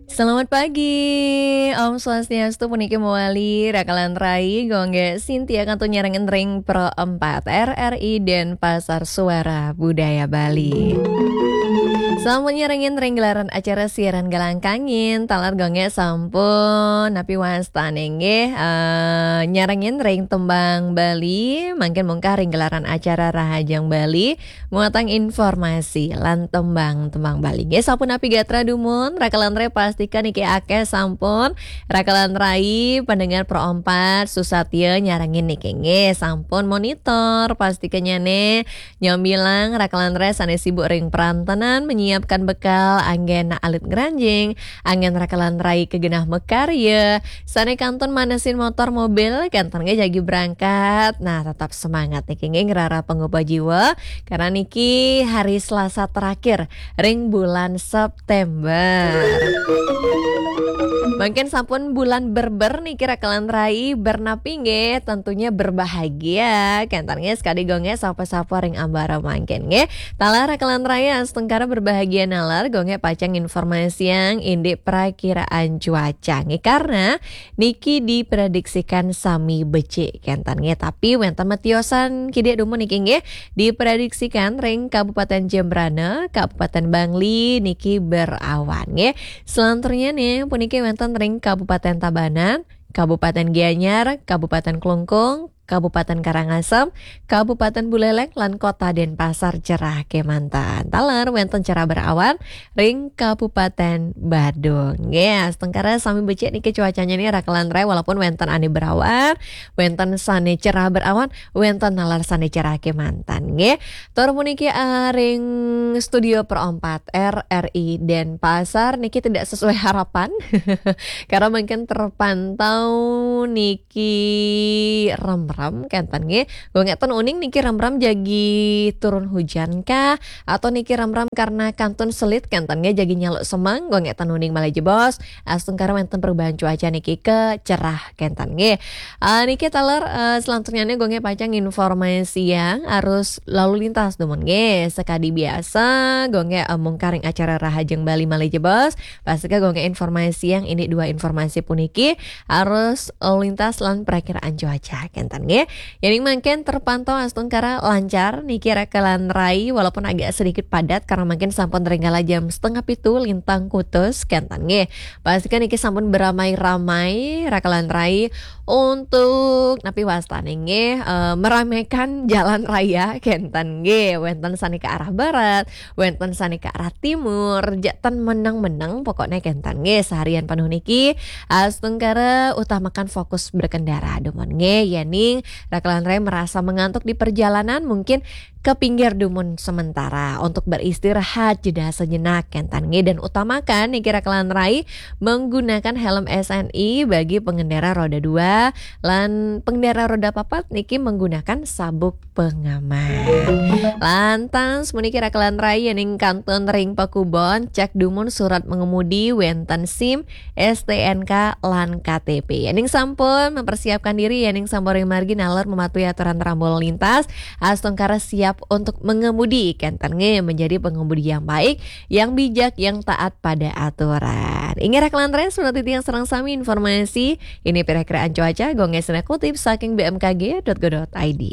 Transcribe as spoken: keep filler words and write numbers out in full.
Selamat pagi, Om Swastiastu, puniki mawali Rakalan Rai, Gung Sintia kantun nyarengin ring Pro empat R R I Denpasar, Suara Budaya Bali. Sampun nyarengin ring gelaran acara siaran Galang Kangin, taler Gung sampun napi wastane nggih, eh, nyarengin ring tembang Bali, mangkin mungkah ring gelaran acara Rahajeng Bali, muatang informasi lan tembang-tembang Bali. Nggih, sampun napi gatra dumun, Rakalan Rai pastika niki akeh sampun, Rakalan Rai pendengar Pro empat, susatya nyarengin niki nggih, sampun monitor, pastika nyane nyambilang Rakalan Rai sane sibuk ring perantenan, menyiapkan bekal, anggen alit ngranjing, anggen Rakalan Rai kagenah makarya, sane kantun manesin motor mobil, kenten nggih jagi berangkat. Nah, tetap semangat niki nggih ngrara pangupa jiwa, karena niki hari Selasa terakhir ring bulan September. Mungkin sampun bulan berber niki Rakalan Rai, bernapi nggih, tentunya berbahagia. Kenten nggih sekadi Gung sapa-sapa ring ambara mangkin nggih. Taler Rakalan Rai astungkara berbahagia naler, Gung pacang informasiang indik prakiraan cuaca nggih, karena niki diprediksikan sami becik kenten nggih. Tapi wenten matiosan kidik dumun niki nggih, diprediksikan ring Kabupaten Jembrana, Kabupaten Bangli niki berawan nggih. Selanturnya nih puniki wenten ring Kabupaten Tabanan, Kabupaten Gianyar, Kabupaten Klungkung, Kabupaten Karangasem, Kabupaten Buleleng, lan Kota Denpasar cerah kemanten. Taler wenten cerah berawan ring Kabupaten Badung. Nggih, astungkara sami becik niki cuacanya nih Rakalan Rai, walaupun wenten ane berawan, wenten sane cerah berawan, wenten naler sane cerah kemanten nggih. Tur puniki, eh, ring studio Pro empat R R I Denpasar niki tidak sesuai harapan. Karena mungkin terpantau niki remrem kenten nggih. Gung ten uning niki remrem jagi turun hujan kah? Atau niki remrem karena kantun selit kenten nggih jagi nyaluk semeng? Gung ten uning malih jebos. Astungkara wenten perubahan cuaca niki ke cerah kenten nggih. Ah, niki taler, eh, selanjutnya nih Gung pacang informasiang arus lalu lintas dumun nggih. Sekadi biasa, Gung, eh, mungkah ring acara Rahajeng Bali malih jebos. Pastika Gung informasiang indik dua informasi puniki, arus lalu lintas lan prakiraan cuaca kenten nggih. Yening mangkin terpantau astungkara lancar niki Rakalan Rai, walaupun agak sedikit padat karena mungkin sampun ring kala jam setengah pitu lintang kutus kenten nggih. Pastika niki sampun beramai-ramai Rakalan Rai untuk napi wastane nggih, eh, meramaikan jalan raya kenten nggih. Wenten sane ke arah barat, wenten sane ke arah timur, jak ten meneng-meneng pokoknya kenten nggih. Seharian penuh niki astungkara utamakan fokus berkendara dumun nggih. Yening Rakalan Rai merasa mengantuk di perjalanan, mungkin ke pinggir dumun sementara untuk beristirahat jeda sejenak kenten nggih, dan utamakan niki Rakalan Rai menggunakan helm S N I bagi pengendara roda dua, lan pengendara roda papat niki menggunakan sabuk pengaman. Lantas puniki Rakalan Rai, yening kantun ring pakubon, cek dumun surat mengemudi, wenten SIM, S T N K lan K T P. Yening sampun mempersiapkan diri, yening sampun ring margi naler mematuhi aturan rambu lalu lintas, astungkara siap untuk mengemudi kenten nggih, menjadi pengemudi yang baik, yang bijak, yang taat pada aturan. Inggih Rakalan Rai, surat titiang sareng sami informasi indik perakiraan cuaca, Gung sane kutip saking B M K G dot go dot I D.